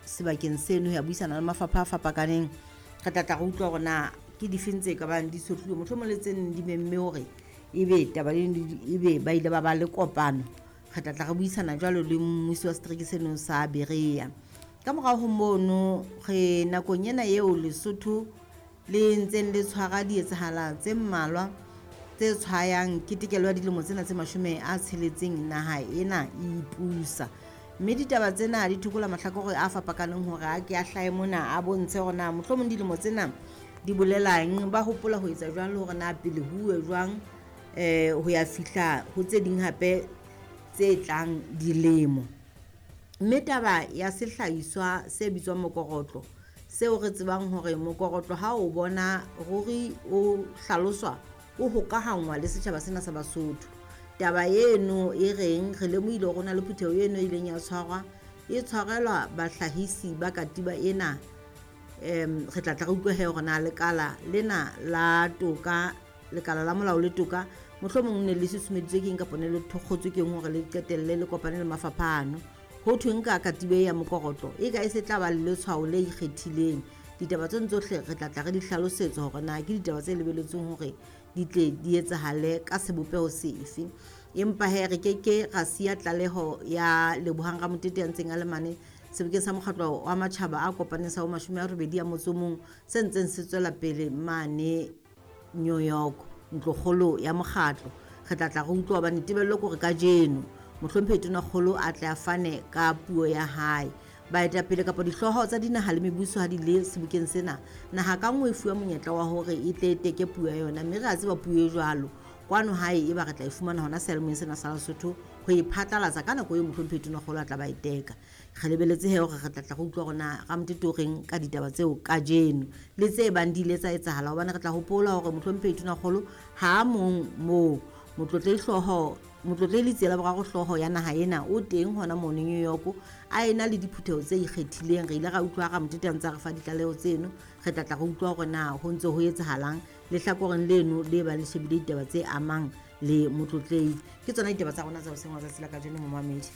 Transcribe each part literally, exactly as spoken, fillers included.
sebakeng seno ho ya buisana le mafapha a fapakaneng. Re tla tla re utlwa hore na ke difeng tse ka bang di tshohluwe, mohlomong le tse neng di memme hore ebe taba ebe ba ile ba ba le kopano. Re tla tla re buisana jwalo le mmusi wa setereke seno sa Berea. Ka morao ho mono re nakong ena eo Lesotho le ntseng le tshwara dietsahala tse mmalwa tse tshwayang ketekelo ya dilemo tsena tse mashome a tsheletseng naha ena e ipusa. Mme ditaba tsena di thokola mahlakore a fapakaneng hore a ke a hlahe mona a bontshe hore na mohlomong dilemo tsena di bolelang, ba hopola ho etsa jwang le hore na pele huwe jwang eh ho ya fihla ho tse ding hape tse tlang dilemo. Mme taba ya sehlahiswa se bitswang mokorotlo, seo re tsebang hore mokorotlo ha o bona ruri o hlaloswa o hokahangwa le setjhaba sena sa Basotho. Taba eno e reng re lemohile hore ho na le phutheho eno e ileng ya tshwarwa e tshwarelwa bahlahisi ba katiba ena. Em re tla tla re utlwe he hore na lekala lena la toka, lekala la molao le toka mohlomong ne le susumeditswe ke eng kapa ne le thokgotswe ke eng hore le qetelle le kopane le mafapha ano. Ho thweng ka katiba ya mokorotlo e ka e se tla ba le letshwao le ikgethileng. Ditaba tseno tsohle re tla tla re di hlalosetswa hore na ke ditaba tse lebelletsweng hore di tle di etsahale ka sebopeho sefe. Empa he re keke ra siya tlaleho ya Lebohang Ramotete ya ntseng a le mane sebokeng sa mokgatlo wa matjhaba a kopaneng sa bo mashome a robedi a motso o mong se ntseng se tswela pele mane New York, ntlokgolo ya mokgatlo. Re tla tla re utlwa hobane tebello ke hore kajeno mohlomphehi Tonakgolo a tle a fane ka puo ya hae. Baetapele kapa dihlooho tsa dinaha le mebuso ha di le sebokeng sena, naha ka nngwe e fuwa monyetla wa hore e tle e teke puo ya yona, mme re a tseba puo e jwalo kwano hae e ba re tla e fumana hona seyalemoyeng sena sa Lesotho ho e phatlalatsa ka nako eo mohlomphehi Tonakgolo a tla ba e teka. Re lebeletse he hore re tla tla re utlwa hore na Ramotete o reng ka ditaba tseo kajeno le tse bang di ile tsa etsahala, hobane re tla hopola hore mohlomphehi Tonakgolo ha a mong moo motlotlehi hlooho motlotlehi Letsie la Boraro hlooho ya naha ena o teng hona mono New York a ena le diphutheho tse ikgethileng. Re ile ra utlwa Ramotete a ntse a re fa ditlaleho tseno. Re tla tla re utlwa hore na ho ntse ho etsahalang lehlakoreng leno le ba le shebile ditaba tse amang le motlotlehi. Ke tsona ditaba tsa rona tsa hoseng wa tsatsi la kajeno momamedi.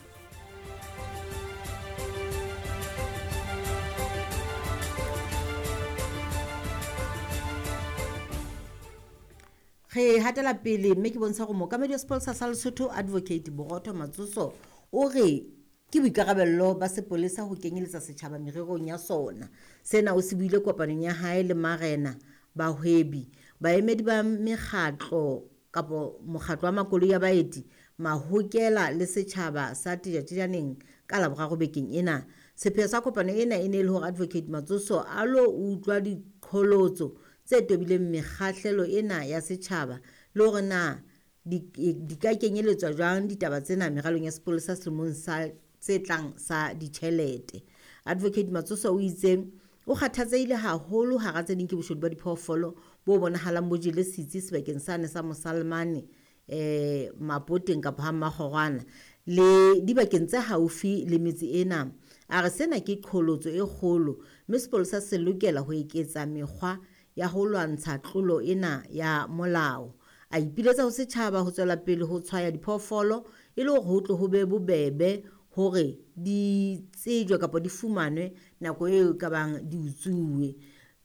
Re hatela pele mme ke bontsha hore mookamedi wa sepolesa sa Lesotho Advocate Borotho Matsoso o re ke boikarabello ba sepolesa ho kenyeletsa setjhaba mererong ya sona. Sena o se buile kopanong ya hae le marena, bahwebi, baemedi ba mekgatlo kapo mokgatlo wa makoloi a baeti, mahokela le setjhaba sa Tejatejaneng ka Laboraro bekeng ena. Sepheo sa kopano ena e ne e le hore Advocate Matsoso a lo utlwa diqholotso tse tobileng mekgahlelo ena ya setjhaba le hore na di, di ka kenyeletswa jwang ditaba tsena meralong ya sepolesa selemong sa tse tlang sa ditjhelete. Advocate Matsoso o itse o kgathatsehile haholo hara tse ding ke boshodu ba diphoofolo bo bonahalang bo jele setsi sebakeng sane sa Mosalmane eh Mapoteng kapa ha Mmakgorwana le dibakeng tse haufi le metse ena. A re sena ke qholotso e kgolo mme sepolesa se lokela ho eketsa mekgwa ya ho lwantsha tlolo ena ya molao. A ipiletsa ho setjhaba ho tswela pele ho tshwaya diphoofolo e le hore ho tle ho be bobebe hore di tsejwe kapa di fumanwe nako eo e ka bang di utsuwe.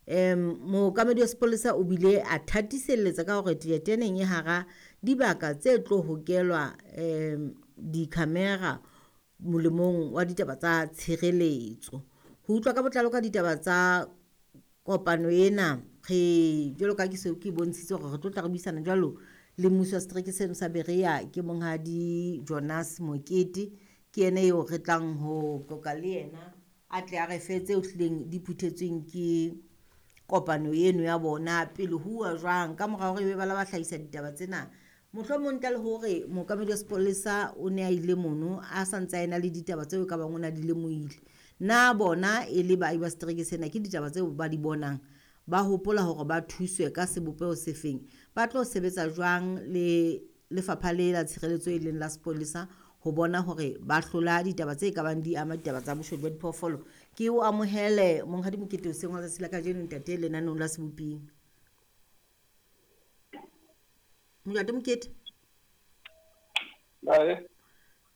Em mookamedi wa sepolesa o bile a thatiselletsa ka hore Tejatejaneng e hara dibaka tse tlo hokelwa em di-camera molemong wa ditaba tsa tshireletso. Ho utlwa ka botlalo ka ditaba tsa kopano ena re jwalo ka ke se ke bontshitse hore re tlo tla re buisana jwalo le mmuso wa setereke seno sa Berea ke monghadi Jonas Mokete, ke yena eo re tlang ho qoqa le yena a tle a re fe tseo hlileng di phuthetsweng ke kopano eno ya bona pele huwa jwang ka mora hore ebe ba la ba hlahisa ditaba tsena. Mohlomong ntle le hore mookamedi wa sepolesa o ne a ile mono a sa ntse a ena le ditaba tseo e ka bang o na di lemohile, na bona e le baahi ba setereke sena ke ditaba tseo ba di bonang ba hopola hore ba thuswe ka sebopeho sefeng, ba tlo sebetsa jwang le lefapha le la tshireletso e leng la sepolesa ho bona hore ba hlola ditaba tse ka bang di ama ditaba tsa boshodu ba diphoofolo. Ke o amohele monghadi Mokete hoseng wa tsatsi la kajeno ntate lenaneong la Seboping. Ntate Mokete. Bae.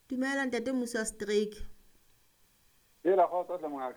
Dumela ntate mmusi wa setereke. Hela kgotso hle mongaka.